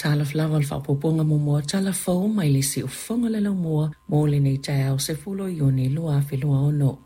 Talofa lava o le faaopoopoga muamua o tala fou mai le Siufofoga o le Laumua mo lenei taeao 10 Iuni 2026.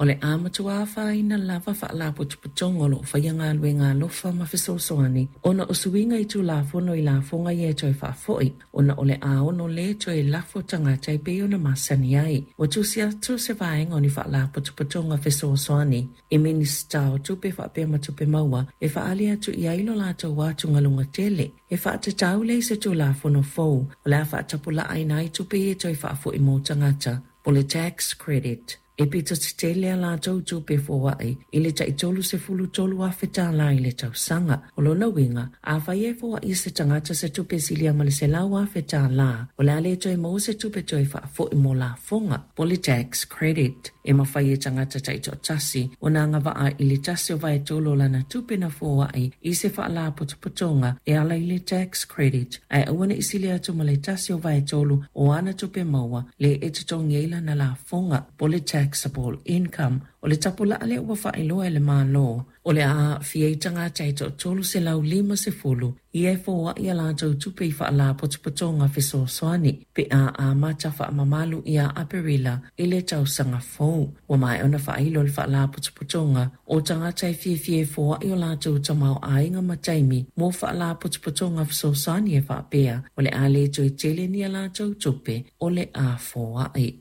O le a matua afaina lava faalapotopotoga o lo o faia galuega alofa ma fesoasoani ona o suiga i Tulafono i lafoga ia e toe faafoi ona o le a ono lē toe lafo tagata e pei ona masani ai. Ua tusi atu se vaega o ni faalapotopotoga fesoasoani i Minisita o Tupe faapea ma Tupe Maua e faaali atu i ai lo latou atugaluga tele e faatatau lea i se Tulafono fou o le a faatapulaaina ai tupe ia e toe faafoi mo tagata po o le tax credit. E pito tetele a latou tupe foai i le tai $33,000 i le tausaga. O lona uiga, afai e foai e se tagata se tupe silia ma le $100,000, o le a le toe maua se tupe toe faafoi mo lafoga, po o le tax credit. E mafai e tagata taitoatasi ona agavaa i le 1/3 o lana tupe na foai i se faalapotopotoga e ala i le tax credit, ae aua ne i sili atu ma le 1/3 o ana tupe maua le e totogi ai lana lafoga, po o le taxable income. O le tapulaa lea ua faailoa e le Malo, o le a aafia ai tagata e toa-350 ia e foai a latou tupe i faalapotopotoga fesoasoani pe a amata faamamalu ia Aperila i le tausaga fou. Ua maea ona faailo le faalapotopotoga o tagata e fiafia e foai o latou tamaoaiga ma taimi mo faalapotopotoga fesoasoani e faapea o le a le toe tele ni a latou tupe o le a foai.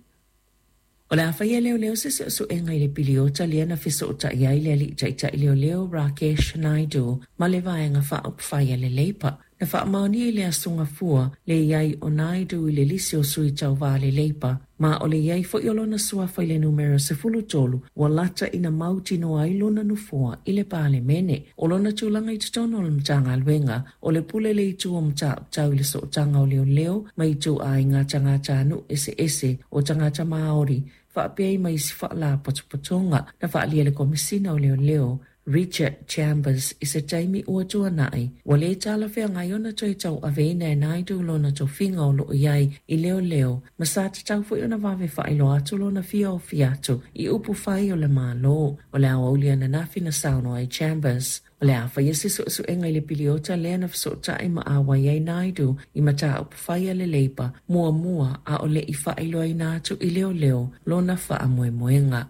O le a faia e leoleo se suesuega i le piliota lea na fesootai ai le alii taitai leoleo Rakesh Naidu ma le Vaega Faaupufai a le Leipa. Na faamaonia i le Aso Gafua le i ai o Naidu i le lisi o sui tauva a le Leipa, ma o le i ai foi o lona suafa i le numera 13 ua lata ina mautinoa ai lona nofoa i le Palemene. O lona tulaga i totonu o le Matagaluega, o le pule le itu o mataupu tau i le sootaga o leoleo ma ituaiga tagatanuu eseese o tagata Māori faapea ai ma isi faalapotopotoga. Na faaalia e le Komesina o Leoleo, Richard Chambers i se taimi ua tuanai, ua le talafeagai ona toe tauaveina e Naidu lona tofiga o lo o i ai i leoleo ma sa tatau foi ona vave faailoa atu lona fia ofi atu i upufai o le Malo. O le aoauli ananafi na saunoa ai Chambers, O le a faia se suesuega i le piliota lea na fesootai ma auai ai Naidu i mataupu fai a le Leipa muamua a o le i faailoaina atu i leoleo lona faamoemoega.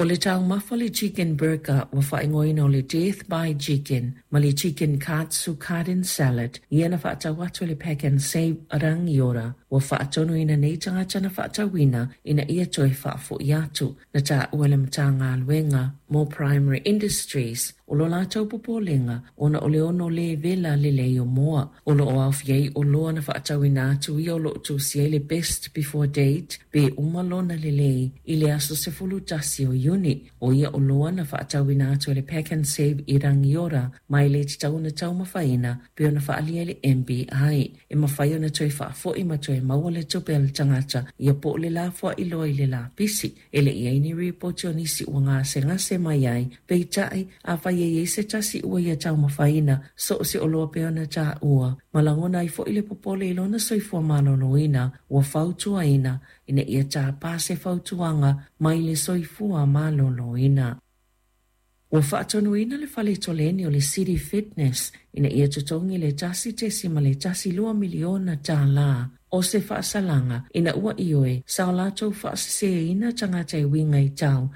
O le taumafa le chicken burger ua faaigoaina o le Death by Chicken ma le Chicken Katsu Garden Salad ia na faatau atu e le Pack and Save Rangiora ua faatonuina nei tagata na faatauina ina ia toe faafoi atu. Na taua le Matagaluega mo Primary Industries o lo latou popolega ona o le ono lē vela lelei o moa. O lo o aofia ai oloa na faatauina atu ia o lo o tusi ai le best before date pe uma lona lelei i le aso 11 o Iuni. O ia oloa na faatauina atu e le Pack and Save i Rangiora ma e le tatau ona taumafaina pei ona faaalia e le MBI. E mafai ona toe faafoi ma toe maua le tupe a le tagata ia po o le lafoai loa i le lapisi. E le i i ai ni ripoti o nisi ua gasegase mai ai, peitai, afai e i ai se tasi ua ia taumafaina, so o se oloa pei ona taua, ma lagona ai foi le popole i lona soifua maloloina, ua fautuaina ina ia tapa se fautuaga mai le soifua maloloina. Ua faatonuina le fale toleni o le City Fitness ina ia totogi le $1.12 miliona o se faasalaga ina ua ioe sa o latou faaseseina tagata e uiga i tau.